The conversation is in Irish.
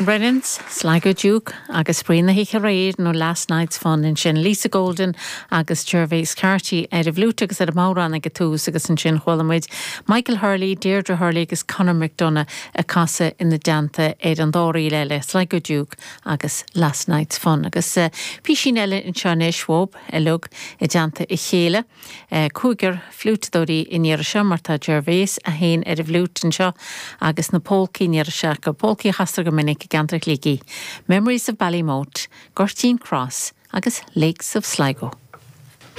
Brennans, Sligo Duke agus Spraoi na hOíche Aréir nó Last Night's Fun ansin. Lisa Golden agus Gervase Carty ar an bhfliúit agus ar an mbodhrán ag an tús agus ansin chuala muid Michael Hurley, Deirdre Hurley agus Conor McDonagh ag casadh ina dteannta ar an dá ríl eile, Sligo Duke agus Last Night's Fun. Agus písín eile anseo anois uaibh uilig i dteannta a chéile. Cúigear fliúiteadóirí an iarraidh seo, mar tá Gervase é féin ar an bhfliúit anseo agus na pólcaí an iarraidh seo acu, pólcaí a chastar go minic i gceantar Shligigh, Memories of Ballymote, Gurteen Cross agus Lakes of Sligo.